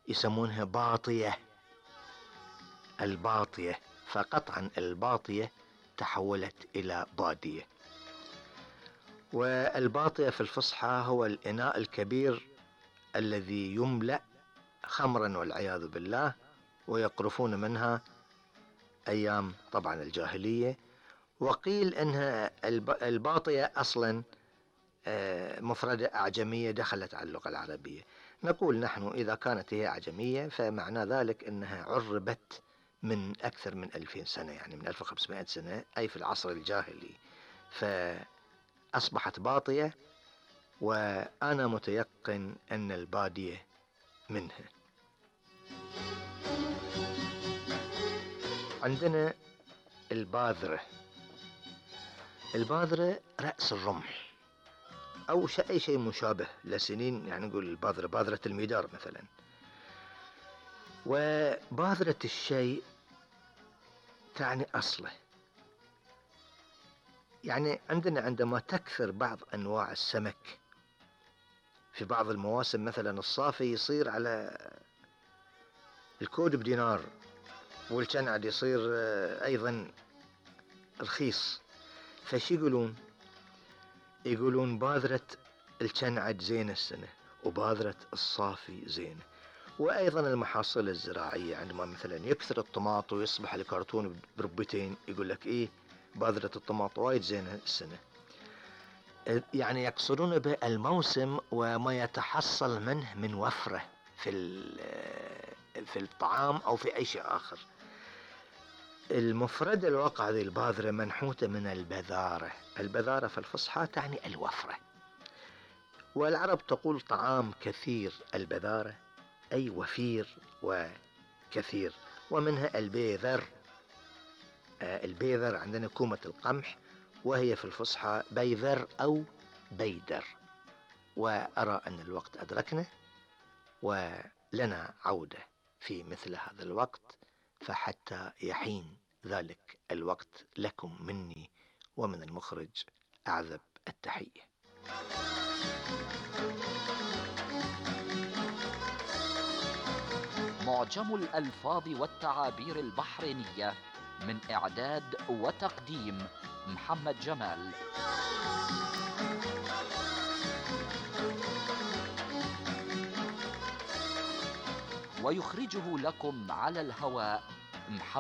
يسمونها باطية، الباطية، فقطعا الباطية تحولت إلى بادية. والباطية في الفصحى هو الإناء الكبير الذي يملأ خمرا والعياذ بالله، ويقرفون منها أيام طبعا الجاهلية. وقيل أنها الباطية أصلا مفردة أعجمية دخلت على اللغة العربية. نقول نحن إذا كانت هي أعجمية فمعنى ذلك أنها عربت من أكثر من 2000 سنة، يعني من 1500 سنة، أي في العصر الجاهلي، فأصبحت باطية. وأنا متيقن أن البادية منها. عندنا الباذرة. الباذرة رأس الرمح أو أي شيء مشابه لسنين، يعني نقول الباذرة، باذرة المدار مثلا. وباذرة الشيء تعني أصله. يعني عندما تكثر بعض أنواع السمك في بعض المواسم، مثلا الصافي يصير على الكود بدينار، والكنعد يصير أيضا رخيص، فشي يقولون باذرة الكنعد زينة السنة، وباذرة الصافي زينة. وأيضا المحاصيل الزراعية، عندما مثلا يكثر الطماط ويصبح الكرتون بربتين، يقول لك إيه، باذرة الطماط وايد زينة السنة. يعني يقصدون بالموسم وما يتحصل منه من وفرة في الطعام أو في أي شيء آخر. المفردة الواقع هذه الباذرة منحوتة من البذارة. البذارة في الفصحى تعني الوفرة، والعرب تقول طعام كثير البذارة أي وفير وكثير. ومنها البيذر. البيذر عندنا كومة القمح، وهي في الفصحى بيذر أو بيدر. وأرى أن الوقت أدركنا، ولنا عودة في مثل هذا الوقت، فحتى يحين ذلك الوقت لكم مني ومن المخرج أعذب التحية. معجم الألفاظ والتعابير البحرينية، من إعداد وتقديم محمد جمال. ويخرجه لكم على الهواء محمد